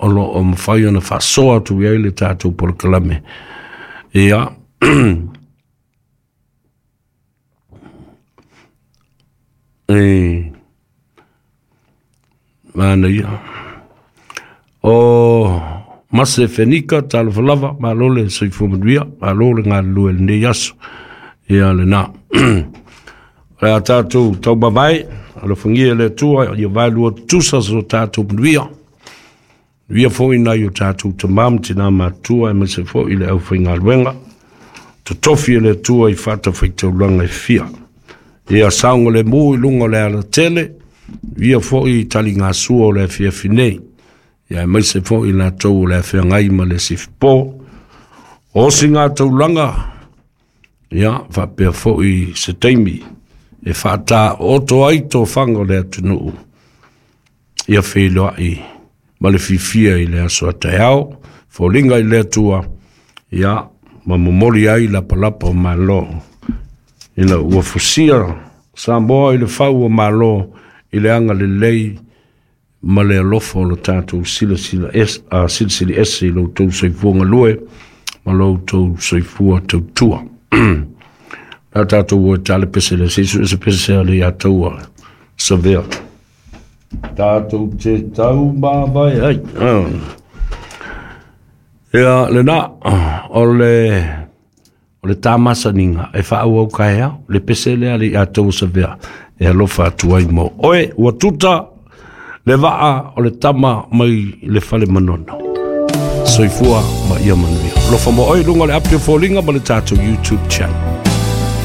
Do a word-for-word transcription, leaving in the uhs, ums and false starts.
o loo mafai ona faasoa atu i ai le tatou polokalame. Ia e manaia o Mase Fenika, talofa lava, malo le soifua manuia, malo le galulue i lenei aso. Ia lena. O le a tatou taumavae, alofagia e le Atua ia vaelua tutusa so tatou manuia. Manuia foi nai o tatou tama ma tina matua, aemaise foi le aufaigaluega totofi e le Atua i fatafaitaulaga e fia. Ia saogalemu i luga o le alatele, manuia foi i taligasua o le afiafi nei. Ia aemaise foi latou o le afeagai ma le sifipo. O siga taulaga, ia faapea foi se taimi e faataoto ai tofaga o le atunuu, ia feiloai ma le fiafia i le aso a taeao, foliga i le Atua, ia ma momoli ai lapalapa o malo, ina ua fusia Samoa i le fau o malo i le agalelei ma le alofa o lo tatou silasila es, uh, silisili ese i lo outou soifua galue ma lo outou soifua tautua. La tatou o e tale pese le se isu se pese a le ia taua savea. Tatou te tau mavae ai. Ia lena o le o le tamasaniga e faaauau kaeao le pese lea le ia taua savea e alofa atu ai mo oe ua tuta le vaa o le tama mai le fale manono. Soifua ma ia manuia. Alofa mo oe luga o le api o foliga ma le tatou YouTube channel.